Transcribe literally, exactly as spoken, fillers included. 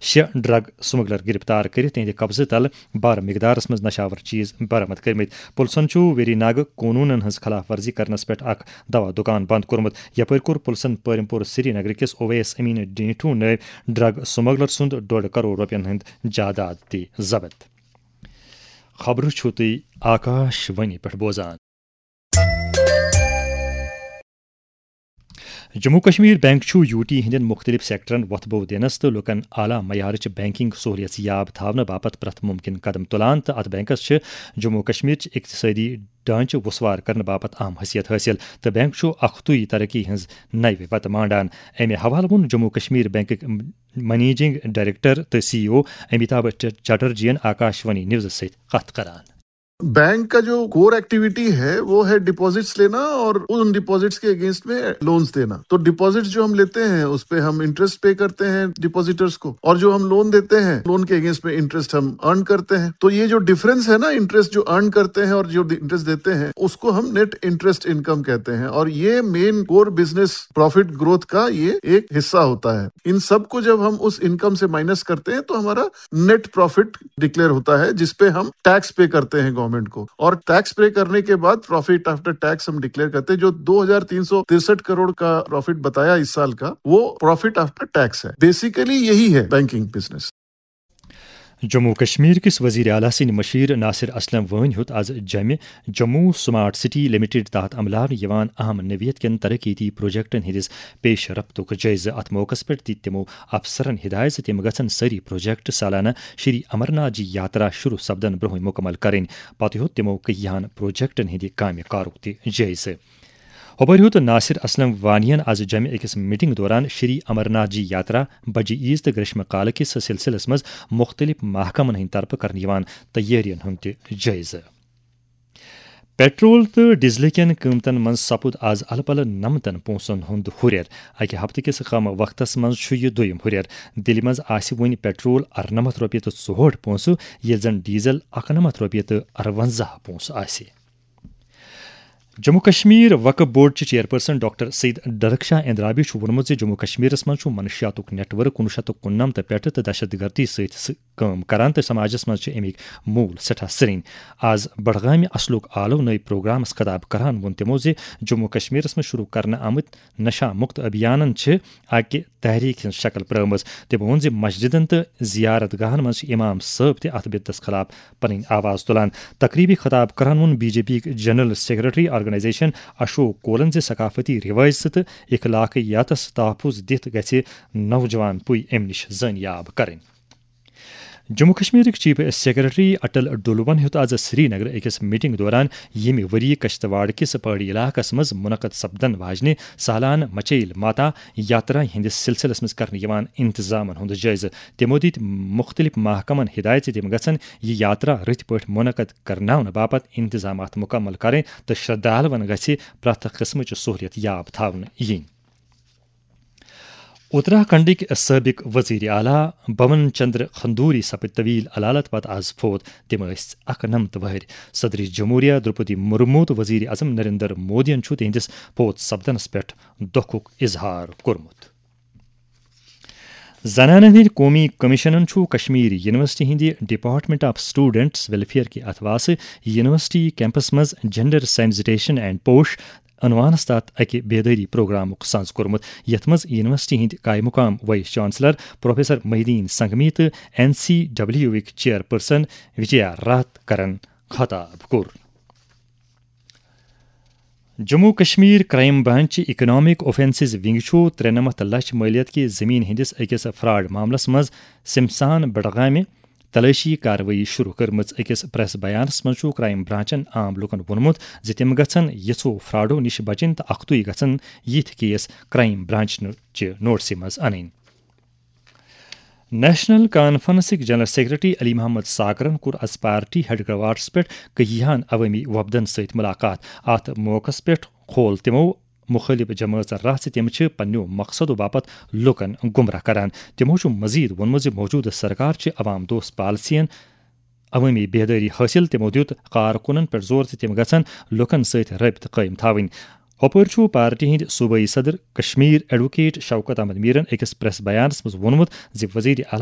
شےٚ drug smuggler گرفتار کٔرِتھ تِہنٛدِ قبضہٕ تلہٕ بارٕ مقدارس منٛز نشاور چیز برآمد کٔرمٕتۍ۔ پُلسن چھُ ویری ناگہٕ قونوٗنن ہٕنٛز خلاف ورزی کرنس پٮ۪ٹھ اکھ دوا دُکان بند کوٚرمُت۔ یپٲرۍ کوٚر پُلسن پٲرِم پوٗر سرینگر کِس اویس امین ڈینٹھو نٲوۍ ڈرگ سمگلر سُنٛد ڈۄڈ کرور رۄپین ہُنٛد جائیداد تہِ ضبط۔ خبرٕ چھِو تُہۍ آکاش وانی پٮ۪ٹھ بوزان۔ جموں کشمیر بینک چھُ یو ٹی ہٕنٛدٮ۪ن مُختٔلِف سیکٹرن وۄتھٕ بو دِنس تہٕ لوٗکن اعلیٰ معیارٕچ بینکنگ سہولیژ یاب تھاونہٕ باپتھ پرٛٮ۪تھ مُمکِن قدم تُلان، تہٕ اتھ بینکس چھِ جموں کشمیرٕچ اقتصٲدی ڈھانچہٕ وُسوار کرنہٕ باپتھ اہم حیثیت حٲصِل، تہٕ بینک چھُ اختٲیی ترقی ہٕنٛز نوِ وتہٕ مانڈان۔ امہِ حوالہٕ ووٚن جموں کشمیر بینکٕکۍ منیجنگ ڈائریکٹر تہٕ سی ای او امیتابھ چٹرجی ین آکاش وانی نیوزس سۭتۍ کتھ کران۔ बैंक का जो कोर एक्टिविटी है, वो है डिपॉजिट्स लेना और उन डिपॉजिट्स के अगेंस्ट में लोन्स देना। तो डिपॉजिट्स जो हम लेते हैं, उस पे हम इंटरेस्ट पे करते हैं डिपॉजिटर्स को, और जो हम लोन देते हैं, लोन के अगेंस्ट में इंटरेस्ट हम अर्न करते हैं। तो ये जो डिफरेंस है ना, इंटरेस्ट जो अर्न करते हैं और जो इंटरेस्ट देते हैं, उसको हम नेट इंटरेस्ट इनकम कहते हैं। और ये main core business profit growth का ये एक हिस्सा होता है। इन सब को जब हम उस इनकम से माइनस करते हैं, तो हमारा नेट प्रॉफिट डिक्लेयर होता है, जिसपे हम टैक्स पे करते हैं गवर्नमेंट को। और टैक्स पे करने के बाद प्रॉफिट आफ्टर टैक्स हम डिक्लेयर करते हैं। जो दो हज़ार तीन सौ तिरसठ करोड़ का प्रॉफिट बताया इस साल का, वो प्रॉफिट आफ्टर टैक्स है। बेसिकली यही है बैंकिंग बिजनेस। جموں و کشمیر کِس وزیر اعلیٰ سٕنٛدِ مشیر ناصر اسلم وٲنۍ ہیوٚت از جمہِ جموں سمارٹ سٹی لمیٹڈ تحت عملاونہٕ یِوان اہم نوعیت کٮ۪ن ترقیتی پروجیکٹن ہٕنٛدِس پیش رفتُک جٲیزٕ۔ اتھ موقعس پٮ۪ٹھ دِتۍ تِمو افسرن ہدایت زِ تِم گژھن سٲری پروجیکٹ سالانہٕ شری امرناتھ جی یاترا شروع سپدن برونٛہٕے مکمل کرٕنۍ۔ پتہٕ ہیوٚت تِمو کیٚہن پروجیکٹن ہٕنٛدِ کامہِ کارُک تہِ جٲیزٕ۔ ہۄپٲرۍ ہیوٚت ناصر اسلم وانین از جمہِ أکِس میٹنگ دوران شری امرناتھ جی یاترا، بجہِ عیز تہٕ گریشمہ کالہٕ کِس سلسلس منٛز مُختٔلِف محکمن ہٕنٛدِ طرفہٕ کرنہٕ یِوان تیٲرین ہُنٛد تہِ جٲیزٕ۔ پیٹرول تہٕ ڈیزلہٕ کٮ۪ن قۭمتن منٛز سپُد از الہٕ پلہٕ نمتن پونٛسن ہُنٛد ہُرٮ۪ر۔ اکہِ ہفتہٕ کِس کم وقتس منٛز چھُ یہِ دوٚیِم ہُرٮ۪ر۔ دِلہِ منٛز آسہِ وۄنۍ پیٹرول ارنمتھ رۄپیہِ تہٕ ژُہٲٹھ پونٛسہٕ، ییٚلہِ زن ڈیزل اکنمتھ رۄپیہِ تہٕ ارونزہ پونٛسہٕ آسہِ۔ جموں کشمیر وقف بورڈ چہِ چیئرپرسن ڈاکٹر سید ڈرک شاہ اندرابی چھُ ووٚنمُت زِ جموں کشمیرس منٛز چھُ منشیاتُک نیٹ ورک کُنوُہ شیٚتھ تہٕ کُننمتھ پٮ۪ٹھٕ تہٕ دہشت گردی سۭتۍ س-، کٲم کران تہٕ سماجس منٛز چھِ اَمِکۍ موٗل سٮ۪ٹھاہ سرٛنۍ۔ از بڈگامہِ اصلُک آلو نٲوۍ پروگرامس خطاب کران ووٚن تِمو زِ جموں کشمیرس منٛز شروع کرنہٕ آمٕتۍ نشہ مکت ابھیانن چھِ اکہِ تحریک ہٕنٛز شکل پرٲومٕژ۔ تٔمۍ ووٚن زِ مسجدن تہٕ زیارت گاہن منٛز چھِ امام صٲب تہِ اتھ بدعتس خلاف پنٕنۍ آواز تُلان۔ تقریبی خطاب کران ووٚن بی جے پی یِک جنرل سیکرٹری آرگنائزیشن اشوک کولن زِ ثقافتی روایژٕ تہٕ اخلاقیاتس تحفظ دِتھ گژھِ نوجوان پُے امہِ نِش زٲنیاب کرٕنۍ۔ جموں کشمیرٕکۍ چیف سیکرٹری اٹل ڈولون ہیوٚت از سری نگر أکِس میٹنگ دوران ییٚمہِ ؤری کشتواڑ کِس پہاڑی علاقس منٛز منعقد سپدن واجنہِ سالانہٕ مچیل ماتا یاترا ہٕنٛدِس سلسلس منٛز کرنہٕ یِوان انتظامن ہُنٛد جٲیزٕ۔ تِمو دِتۍ مُختٔلِف محکمن ہدایت زِ تِم گژھن یہِ یاترا رٕتۍ پٲٹھۍ منعقد کرناونہٕ باپتھ انتظامات مکمل کرٕنۍ تہٕ شردھالون گژھِ پرٛٮ۪تھ قٕسمٕچ سہولیت یاب تھاونہٕ یِنۍ۔ اتراکھنڈٕکۍ سٲبق وزیر اعلیٰ بھون چندر کھندوری سپٕدۍ طویل علالت پتہٕ از فوت۔ تِم ٲسۍ اکنمتھ وہرۍ۔ صدر جمہوریہ درپدی مرمو تہٕ وزیر اعظم نریندر مودین چھُ تِہنٛدِس فوت سپدنس پٮ۪ٹھ دۄکھُک اظہار کوٚرمُت۔ زنانن ہٕنٛدۍ قومی کمیشنن چھُ کشمیر یونیورسٹی ہٕنٛدِ ڈپارٹمنٹ آف اسٹوڈنٹس ویلفیئر کہِ اتھواسہٕ یونیورسٹی کیمپس منٛز جینڈر سینسٹائزیشن اینڈ پوش عنوانس تحت اکہِ بیدٲری پروگرامُک سانز کوٚرمُت، یتھ منٛز یونیورسٹی ہٕنٛدۍ قائم مقام vice chancellor professor Mohi uddin Sangmi تہٕ این سی ڈبلیو یُک چیئرپرسن وجیا راتھ کرن خطاب کوٚر۔ Jammu Kashmir crime branch economic offences wing چھُ ترٛنمتھ لچھ مٲلیت کہِ زمین ہٕنٛدِس أکِس فراڈ معاملس منٛز سمسان بڈگامہِ تلٲشی کاروٲیی شروع کٔرمٕژ۔ أکِس پریس بیانس منٛز چھُ کرائم برانچن عام لوٗکن ووٚنمُت زِ تِم گژھن یِژھو فراڈو نِش بچٕنۍ تہٕ اکھتُے گژھن یِتھۍ کیس کرائم برانچ چہِ نوٹسہِ منٛز انٕنۍ۔ نیشنل کانفرنسٕکۍ جنرل سیکرٹری علی محمد ساگرن کوٚر از پارٹی ہیڈ کوارٹرس پٮ۪ٹھ کیہن عوٲمی وفدن سۭتۍ ملاقات۔ اتھ موقعس پٮ۪ٹھ کھول تِمو مُخٲلِف جمٲژن راہ زِ تِم چھِ پننیو مقصدو باپتھ لوٗکن گمراہ کران۔ تِمو چھُ مزید ووٚنمُت زِ موجودٕ سرکار چھِ عوام دوست پالیسین عوٲمی بیدٲری حٲصِل۔ تِمو دِیُت کارکُنن پٮ۪ٹھ زور زِ تِم گژھن لوٗکن سۭتۍ رٲبطہٕ قٲیِم تھاوٕنۍ۔ ہۄپٲرۍ چھُ پارٹی ہٕنٛدۍ صوبٲئی صدر کشمیر ایڈووکیٹ شوکت احمد میرن أکِس پریس بیانس منٛز ووٚنمُت زِ وزیر اعلیٰ